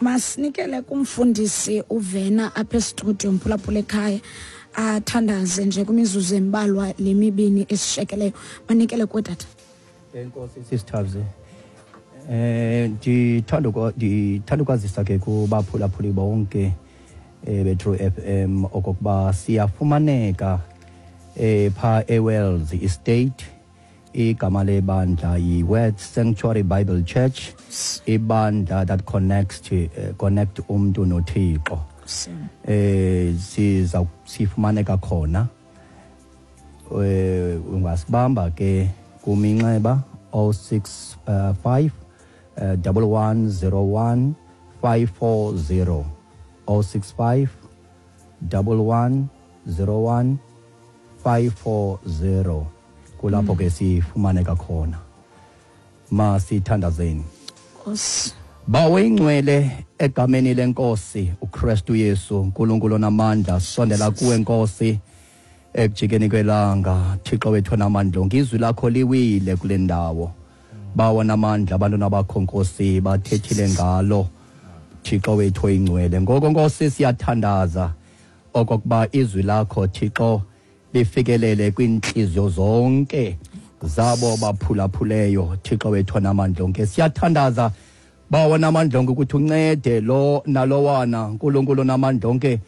Masinikele kumfundisi uVena apha estudio, mphulaphula ekhaya, athandaze nje kwimizuzu embalwa le mibini esishekeleyo. Manikele kuwe, tata. Enkosi, sisithabzi. Ndithanda ukwazisa ke kubaphulaphuli bonke beTrue FM okokuba siyafumaneka pha eWells Estate. Igama lebandla yi-Word Sanctuary Bible Church, ibandla that connects to, connect umntu noThixo. Siza sifumaneka khona. Ungasibamba ke kuminxeba 065 1101 540, 065 1101 540. Kulapho ke sifumaneka khona. Masithandazeni. Nkosi. Bawo ingcwele, egameni lenkosi uKristu Yesu, uNkulunkulu onamandla, sondela kuwe, Nkosi, ekujikeni kwelanga. Thixo wethu onamandla onke, izwi lakho liwile kule ndawo. Bawo namandla, abantwana bakho, Nkosi, bathethile ngalo, Thixo wethu oyingcwele. Ngoko, Nkosi, siyathandaza okokuba izwi lakho, Thixo, lifikelele kwiintliziyo zonke zabo baphulaphuleyo. Thixo wethu onamandla onke, siyathandaza, Bawo namandla onke, ukuthi uncede lo nalowana, Nkulunkulu namandla onke,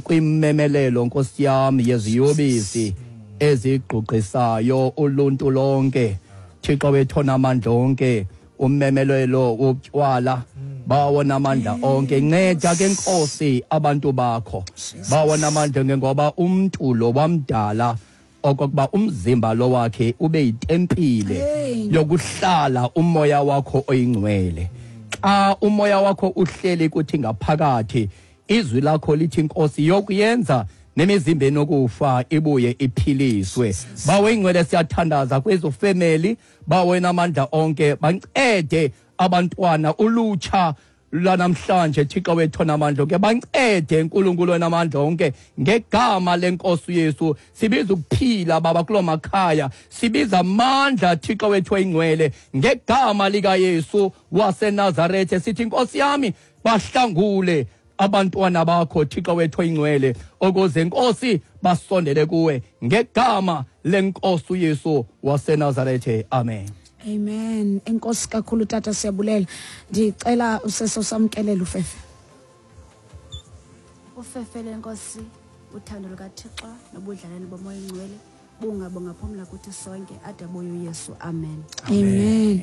kwimemelelo, Nkosi yami, yeziyobisi ezigqugqisayo uluntu lonke. Thixo wethu onamandla onke, umemelelo wotywala, Bawo namandla onke, nceda ke, Nkosi, abantu bakho, Bawo namandla onke, ngoba umntu lo wamdala okokuba umzimba lo wakhe ube yitempile yokuhlala umoya wakho oyingcwele. Xa umoya wakho uhleli kuthi ngaphakathi, izwi lakho lithi, Nkosi, yokuyenza nemizimba enokufa ibuye iphiliswe. Bawo ingcwele, siyathandaza kwezo family, Bawo namandla onke, bancede abantwana, ulutsha lanamhlanje. Thixo wethu namandla onke, bancede, Nkulunkulu onamandla onke. Ngegama lenkosi uYesu sibiza ukuphila, Baba, kuloo makhaya. Sibiza amandla, Thixo wethu oyingcwele, ngegama likaYesu waseNazarethe. Sithi, Nkosi yami, bahlangule abantwana bakho, Thixo wethu oyingcwele, ukuze, Nkosi, basondele kuwe, ngegama lenkosi uYesu waseNazarethe, amen. Amen. Enkosi kakhulu, tata, siyabulela. Ndicela usese usamkelela ufefe. Ufefe lenkosi, uthando lukaThixo nobudlalane bomoya ingcwele bungaphumla kuthi sonke ade abuye uYesu. Amen. Amen.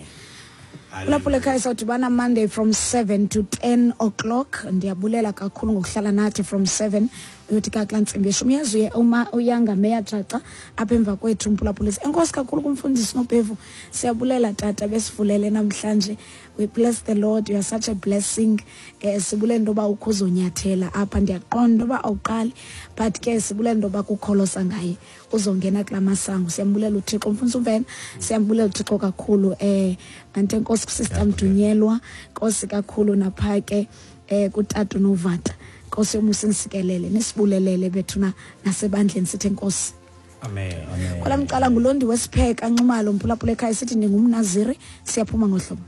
Kulapho ekhaya sawudibana Monday from 7 to 10 o'clock. Ndiyabulela kakhulu ngokuhlala nathi from 7 uyothi kakula ntsimbi yeshumi. Uyazi uye uma uyanga meya jaca apha emva kwethu, mphulaphulisi. Enkosi kakhulu kumfundisi Nobhevu. Siyabulela, tata, besivulele namhlanje. We bless the Lord. You are such a blessing. Sibulela into yoba ukho uzonyathela apha. Ndiyaqonda into yoba awuqali, but ke sibulela into yoba kukholosa ngaye uzongena kula masango. Siyambulela uThixo, mfundisi uMvena. Siyambulela uThixo kakhulu. Ante Nkosi kusister Mdunyelwa. Nkosi kakhulu napha ke kutata uNovata. Nkosi yomusa insikelele, nisibulelele bethuna nasebandleni, sithe Nkosi. Amen. Kwala mcala ngulondi wesipheka Nxumalo, mphulaphula ekhaya, sithi ndingumnaziri. Siyaphuma ngohlobo.